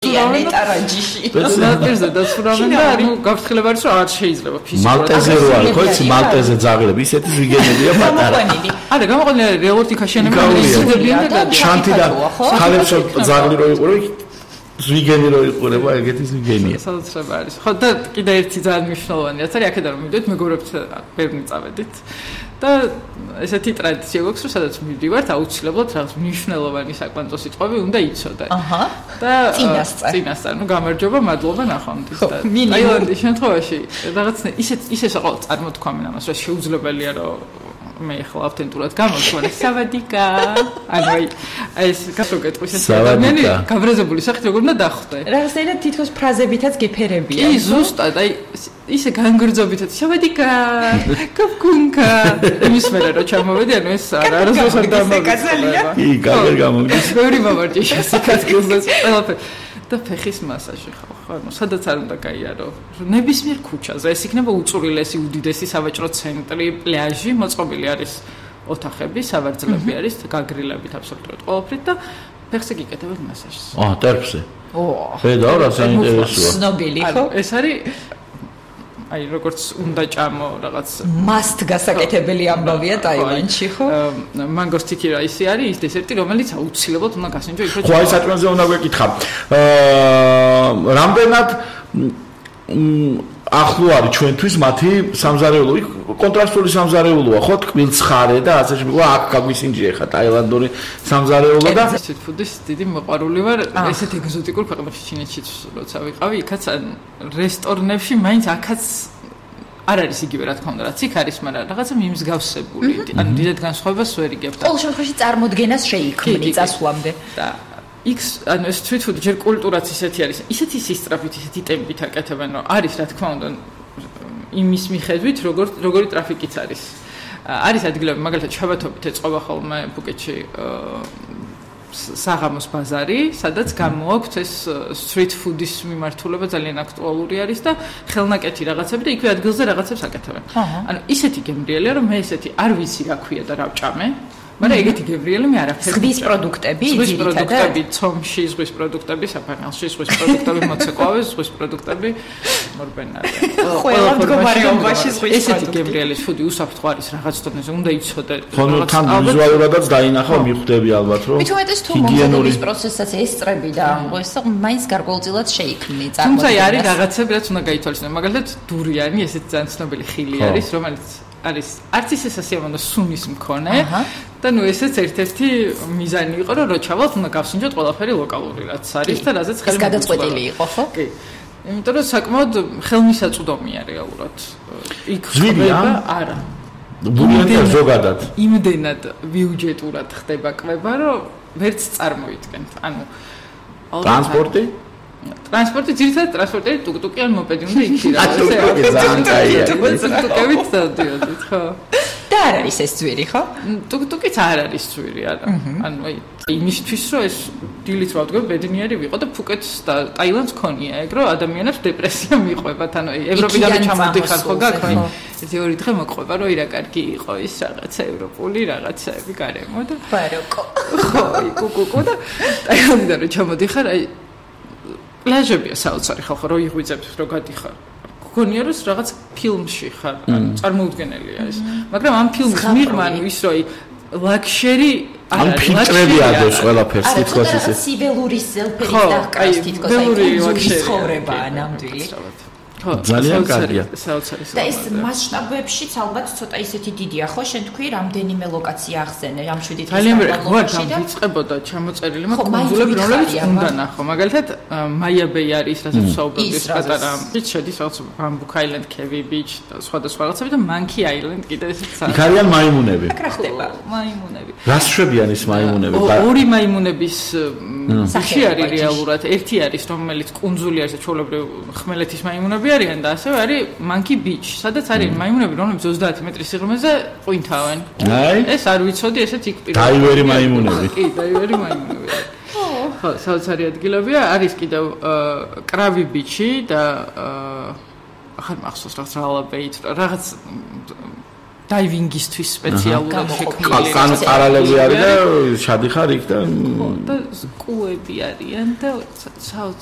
ნეტარაჯიში. ნატირზე დაცურავენ და ანუ გაფრთხილება არის რომ არ შეიძლება ფიზიკურად. მალტეზე რო არის, ხო იცი მალტეზე ძაღლები, ისეთი ზვიგენებია პატარა. არა, გამოყენილი რეალურად იქაშენებენ ისედებიან და შანთი და ხალებს ძაღლი რო იყურებ, ზვიგენი რო იყურება, ეგეთი ზვიგენია. სადაცრება არის. ხო და კიდე ერთი ძალიან მნიშვნელოვანი რაც არის, აქედან რომ მივიდეთ, მეგობრებთ ბევრი წავედით. და ესეთი ტრადიცია გვაქვს, რომ სადაც მივდივართ, აუცილებლად რაღაც მნიშვნელოვანი საკვანძო სიტყვები უნდა იცოდე. აჰა. და წინასწარ, ნუ გამარჯობა, მადლობა ნახვამდის და ტაილანდის შემთხვევაში რაღაც ისე საყოველთაოდ წარმოთქვამენ ამას, რომ შეუძლებელია რომ მე ახლა ავთენტურად გამოვთვალე სავადიკა. ანუ ეს გასაგეთყვის ეს ადამიანი გაბრაზებული სახით როგორ უნდა დახვდე. რაღაცნაირად თითქოს ფრაზებითაც გეფერებია. კი, ზუსტად, აი ისე განგრძობითაც სავადიკა, კაფკუნკა. იმის მერე რომ ჩამოვედი, ანუ ეს არასდროს არ დამოვიწყდება. კი, კარგად გამოგდის. ბევრი მოვარჯიშ სიკაცილს ყველაფერი. და ფეხის მასაჟი ხო, ანუ სადაც არ უნდა გაიარო. ნებისმიერ ქუჩაზე ეს იქნება უწვრილესი, უდიდესი სავაჭრო ცენტრი, პლაჟი, მოწყობილი არის ოთახები, სავარძლები არის, გაგრილებით აბსოლუტურად ყველაფრით და ფეხზე გიკეთებენ მასაჟს. ტერფზე. ხედავ რა საინტერესოა. ცნობილი ხო? ეს არის აი როგორც უნდა ჭამო რაღაც must გასაკეთებელი ამბავია ტაილანდში ხო? მანგოს თიკი რაისი არის ის დესერტი რომელიც აუცილებლად უნდა გასინჯო იქ ხო აი საჭმელზე უნდა გვეკითხა. რამდენად ახლო არის ჩვენთვის მათი სამზარეულო? კონტრასტული სამზარეულოა ხო? თკბილცხარე და ასე შემდგომ აქ გაგვისინჯე ხა ტაილანდური სამზარეულო და street food-ის დიდი მოყვარული ვარ. ესეთ ეგზოტიკურ ქვეყნებში ჩინეთშიც როცა ვიყავი, იქაც რესტორნებში მაინც აქაც არ არის იგივე რა თქმა უნდა, რაც იქ არის, მაგრამ რაღაცა მიმსგავსებული. ანუ დიდად განსხვავებას ვერ იგებ და ყოველ შემთხვევაში წარმოდგენას შეიქმნი წასვლამდე. და იქ ანუ street food ჯერ კულტურაც ისეთი არის, ისეთი სისწრაფით, ისეთი ტემპით აკეთებენ, რომ არის რა თქმა უნდა იმის მიხედვით, როგორი ტრაფიკიც არის. არის ადგილები, მაგალითად, შაბათობით ეწყობა ხოლმე ფუკეტში საღამოს ბაზარი, სადაც გამოაქვთ ეს street food-ის მიმართულება ძალიან აქტუალური არის და ხელნაკეთი რაღაცები და იქვე ადგილზე რაღაცებს აკეთებენ. ანუ ისეთი გემრიელია, რომ მე ესეთი არ ვიცი რა ქვია და რა ვჭამე. მაგრამ ეგეთი გემრიელი მე არაფერი. ზღვის პროდუქტები, ზღვის პროდუქტები, ცომში, ზღვის პროდუქტები, საფარნელში, ზღვის პროდუქტები, მოცეკვავე, ზღვის პროდუქტები, მორბენარი. ყველა მდგომარეობაში ზღვის ესეთი გემრიელი ფუდი უსაფრთხო არის რაღაც დონეზე, უნდა იცოდე. ხო, თან ვიზუალურადაც დაინახავ, მიხვდები ალბათ, რომ მithumetes თუ მომზადების პროცესსაც ესწრები და ეს მაინც გარკვეულწილად შეიქმნი წარმოდგენას. თუმცა არის რაღაცები, რაც უნდა გაითვალისწინო. მაგალითად, დურიანი, ესეთი ძალიან ცნობილი ხილი არის, რომელიც არის არც ისე სასიამოვნო სუნის მქონე და ნუ ესეც ერთ-ერთი მიზანი იყო რომ ჩავალთ უნდა გავსინჯოთ ყველაფერი ლოკალური რაც არის და რაზეც ხელი გადაწყვეტილი იყო ხო? კი. იმიტომ რომ საკმაოდ ხელმისაწვდომია რეალურად. იქ ზვიგია? არა. ბუნიათია ზოგადად. იმდენად ბიუჯეტურად ხდება კვება რომ ვერც წარმოიდგენთ. ანუ ტრანსპორტი? ტრანსპორტი ძირითადად ტრანსპორტი ტუკტუკი ან მოპედი უნდა იქნება. ტუკტუკი ძალიან კაია. ტუკტუკებით დადიოდით, ხო? და არ არის ეს ძვირი, ხო? ტუკტუკიც არ არის ძვირი, არა. ანუ აი იმისთვის რომ ეს დილით ვადგებ ბედნიერი ვიყო და ფუკეტს და ტაილანდს ქონია ეგ რომ ადამიანებს დეპრესია მიყვებათ. ანუ ევროპიდან ჩამოდიხარ ხო გაქვენ. ერთი ორი დღე მოყვება რომ ირა კარგი იყო ის რაღაცა ევროპული რაღაცაები გარემო და ბაროკო. ხო, კუკუკუ და ტაილანდიდან რომ ჩამოდიხარ აი პლაჟებია საოცარი ხალხო რო იღვიძებ რო გადიხარ. გქონია რომ რაღაც ფილმში ხარ, ანუ წარმოუდგენელია ეს. მაგრამ ამ ფილმის მიღმა ანუ ის რომ ლაქშერი არ არის. ფილტრები ადოს ყველაფერს თითქოს ისე. სიბელურის ზელფერის დაჰკრავს თითქოს აი ლაქშერი ხოვრებაა ნამდვილი. ძალიან კარგია. საოცარი. და ეს მასშტაბებშიც ალბათ ცოტა ისეთი დიდია ხო? შენ თქვი რამდენიმე ლოკაცია ახსენე ამ 7 დღის განმავლობაში და ვიწყებოდა ჩამოწერილი მაგ კონსულები რომლებიც უნდა ნახო. მაგალითად მაია-ბეი არის, რასაც საუბრობთ პატარა. ის შედის რაღაც ბამბუკ აილენდ, კევი ბიჩ და სხვა რაღაცები და მანკი აილენდ კიდე ესეც არის. იქ არიან მაიმუნები. აქ რა ხდება? მაიმუნები. რას შვებიან ის მაიმუნები? ორი მაიმუნების სახე არის რეალურად. ერთი არის რომელიც კუნძული არის, ჩვეულებრივ ხმელეთის მაიმუნები არიან და ასევე არის Monkey Beach, სადაც არის მაიმუნები, რომლებიც 30 მეტრის სიღრმეზე ყვინთავენ. ეს არ ვიცოდი, ესეც იქ პირდაპირ. დაივერი მაიმუნები. კი, დაივერი მაიმუნები. ხო, საოცარი ადგილებია, არის კიდევ კრავი ბიჩი და ახალ მახსოვს რაღაც დაივინგისთვის სპეციალურად შექმნილი. კანო პარალელი არის და შადიხარ იქ და და სკუები არიან და